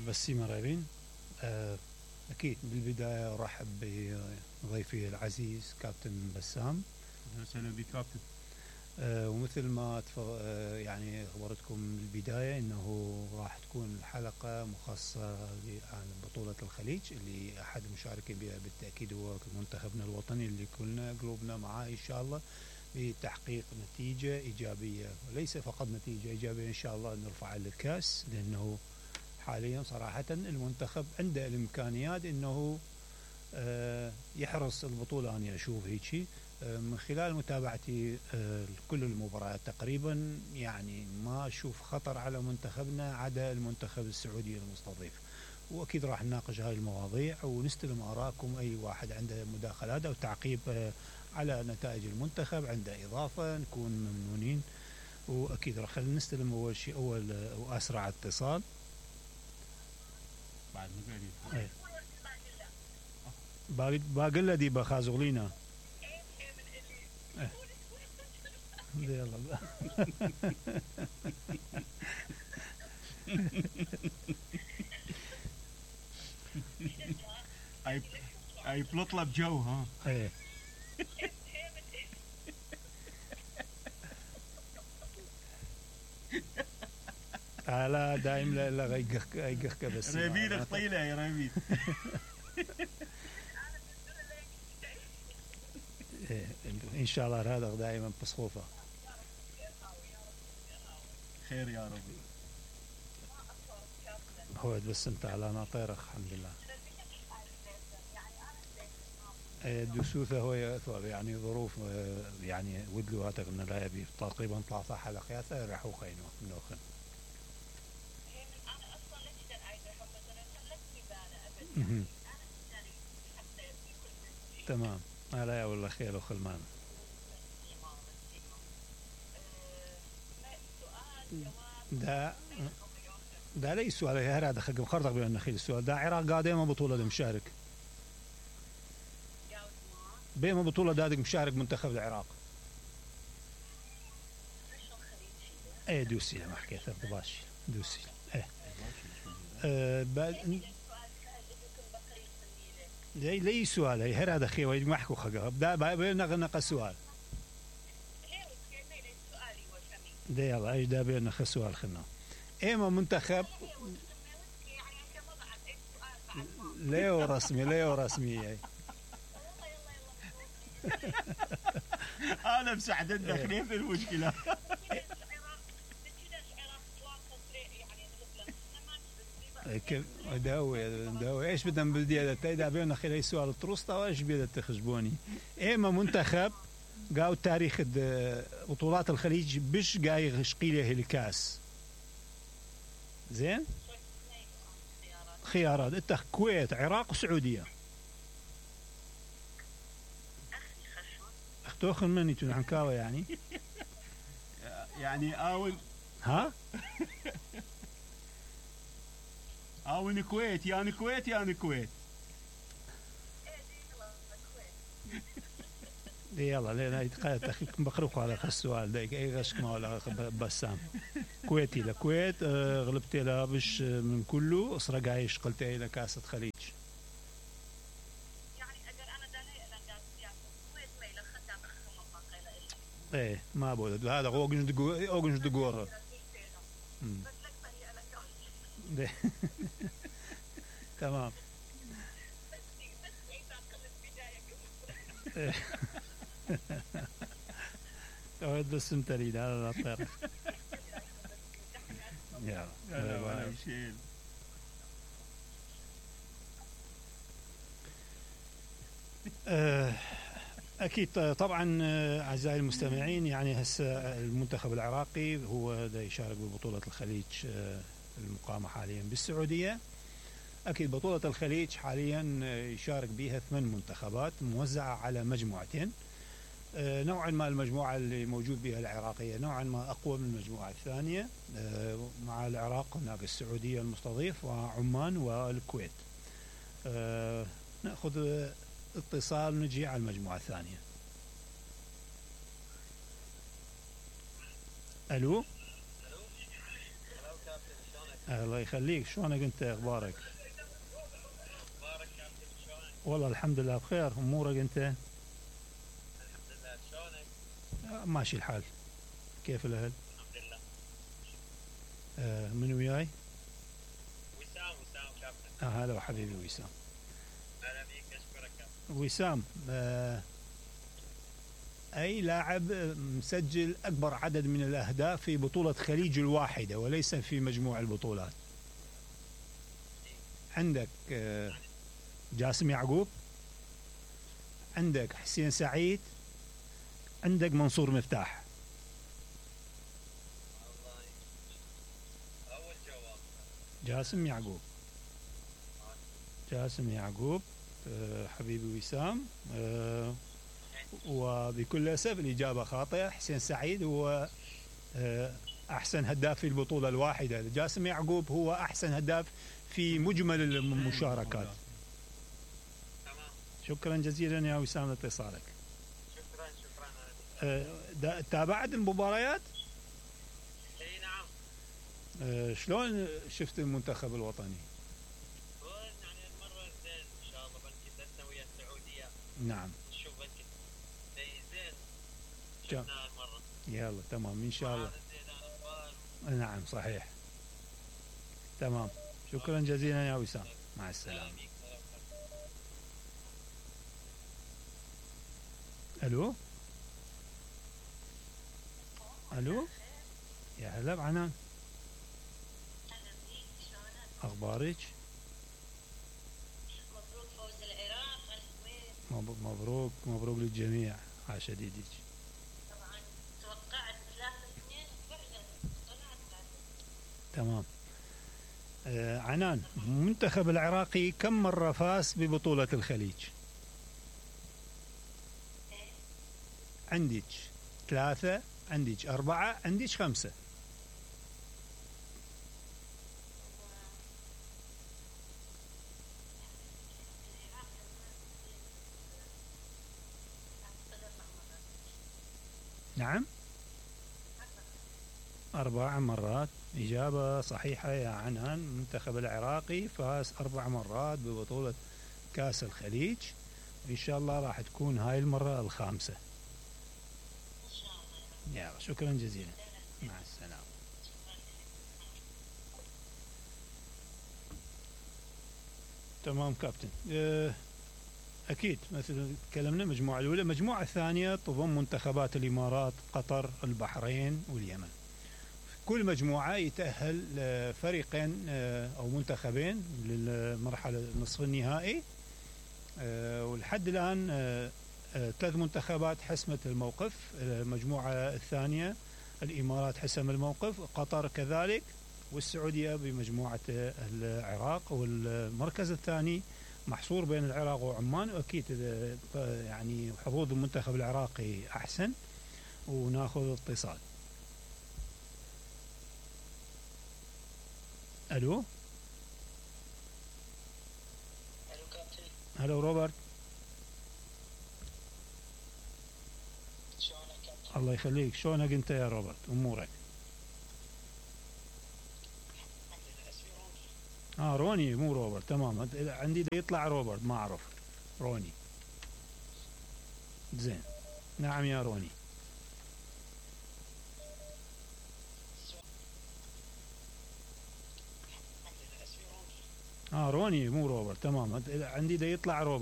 بس مرحبين. أكيد بالبداية أرحب بضيفي العزيز كابتن بسام. أهلا وسهلا بك كابتن. ومثل ما يعني أخبرتكم بالبداية أنه راح تكون الحلقة مخصصة عن بطولة الخليج اللي أحد مشاركين بها بالتأكيد هو منتخبنا الوطني اللي كلنا قلوبنا معاه إن شاء الله بتحقيق نتيجة إيجابية، وليس فقط نتيجة إيجابية إن شاء الله نرفع الكاس، لأنه حاليا صراحة المنتخب عنده الإمكانيات أنه يحرص البطولة. أنا أشوف هيك من خلال متابعتي كل المباريات تقريبا، يعني ما أشوف خطر على منتخبنا عدا المنتخب السعودي المستضيف. وأكيد راح نناقش هاي المواضيع ونستلم آراءكم، أي واحد عنده مداخلات أو تعقيب على نتائج المنتخب عنده إضافة نكون ممنونين. وأكيد راح نستلم أول شيء وأسرع اتصال بعد ما باقي دي بخازغلينا يلا اي بلطلب جو ها. ايه لا دايم لا غيقك بس ربيد طيله يا ربيد. ان شاء الله هذا دائما بصفوفه خير يا رب. هو بس انت على ناطيرك الحمد لله. دسوثه هو يعني ظروف يعني ودلو هاتك من لا يبي تقريبا 3 حلقات راح وخينو نوخن. تمام. لا والله خير وخلمان. دا ليس سؤال هذا خلق مخرطق بين النخيل. السؤال دا عراق قادمة بطولة مشارك بما بطولة دادك مشارك منتخب العراق. ايه دوسي ما حكيت ارتباش دوسي ايه لي سؤال هي هذا خي ويد ما حكوا خقه بدا بينغنق السؤال ده يلا ايش ده بينغنق السؤال خلنا ايما منتخب ليه رسمي انا مساعد الداخلين في المشكله. كيف داوي ايش بدنا بالدي هذا بينا خلال سؤال التروستا وايش بيد تخجبوني. ايما منتخب قاو تاريخ بطولات الخليج بش جاي شقيله الكاس زين خيارات انت كويت عراق وسعوديه اختوخن مني تنحن كاوه يعني اول ها او الكويت يعني كويت يلا لا يتقاعد بقرق على السؤال ده اي غشك ما ولا بسام كويتي لكويت غلبت لها بش من كله اسرق عايش قلت الى كاسة خليج يعني اجر انا داني كويت ميل خدام خم ايه ما بود هذا اوجنج دغور تمام. أود بس تريد هذا الطير. يلا أكيد طبعا أعزائي المستمعين، يعني هسه المنتخب العراقي هو دا يشارك ببطولة الخليج المقامة حاليا بالسعودية. أكيد بطولة الخليج حاليا يشارك بها 8 منتخبات موزعة على مجموعتين. نوعا ما المجموعة اللي موجود بها العراقية نوعا ما أقوى من المجموعة الثانية. مع العراق هناك السعودية المستضيف وعمان والكويت. نأخذ اتصال نجي على المجموعة الثانية. ألو الله يخليك، شلونك انت؟ اخبارك؟ اخبارك كابتن شلونك؟ والله الحمد لله بخير. امورك انت؟ الحمد لله شلونك؟ ماشي الحال. كيف الاهل؟ الحمد لله. من وياي؟ وسام كابتن. هلا حبيبي وسام. اهلا بيك، اشكرك كابتن. وسام، أي لاعب مسجل أكبر عدد من الأهداف في بطولة خليج الواحدة وليس في مجموع البطولات؟ عندك جاسم يعقوب، عندك حسين سعيد، عندك منصور مفتاح. والله اول جواب جاسم يعقوب. حبيبي وسام، وبكل أسف الإجابة خاطئة. حسين سعيد هو أحسن هداف في البطولة الواحدة. جاسم يعقوب هو أحسن هداف في مجمل المشاركات. تمام. شكرا جزيلا يا وسام لاتصالك. شكرا. تابعت المباريات؟ اي نعم. شلون شفت المنتخب الوطني؟ يعني المرة زين ان شاء الله، بلكي درسنا ويا السعودية. نعم. نشوف بلكي زين. جم. شفنا المرة. يلا تمام ان شاء الله. زين الاخبار. نعم صحيح. تمام. شكرا جزيلا يا وسام، مع السلامة. الو يا هلا بعنان، اهلا بيك، شلونك؟ اخبارك؟ مبروك فوز العراق على الكويت. مبروك للجميع، عاش يديك. طبعا توقعت 3-2 فعلا طلعت 3. تمام. عنان، المنتخب العراقي كم مرة فاز ببطولة الخليج؟ عندك 3، عندك 4، عندك 5. نعم 4 مرات. إجابة صحيحة يا عنان. المنتخب العراقي فاز 4 مرات ببطولة كأس الخليج، إن شاء الله راح تكون هاي المرة الخامسة. ان شاء الله. يلا شكرا جزيلا، مع السلامة. تمام كابتن. أكيد مثل تكلمنا المجموعة الأولى. المجموعة الثانية تضم منتخبات الإمارات، قطر، البحرين واليمن. كل مجموعة يتأهل فريقين أو منتخبين للمرحلة نصف النهائي. ولحد الآن 3 منتخبات حسمت الموقف. المجموعة الثانية الإمارات حسم الموقف، قطر كذلك، والسعودية بمجموعة العراق. والمركز الثاني محصور بين العراق وعمان، وأكيد يعني حظوظ المنتخب العراقي أحسن. وناخذ اتصال. الو كابتن. هلا روبرت. شلونك كابتن؟ الله يخليك، شلونك انت يا روبرت؟ امورك؟ روني مو روبرت. تمام، عندي يطلع روبرت، ما اعرف. روني. زين. نعم يا روني. روني مو روبرت. تمام، عندي يطلع روبرت.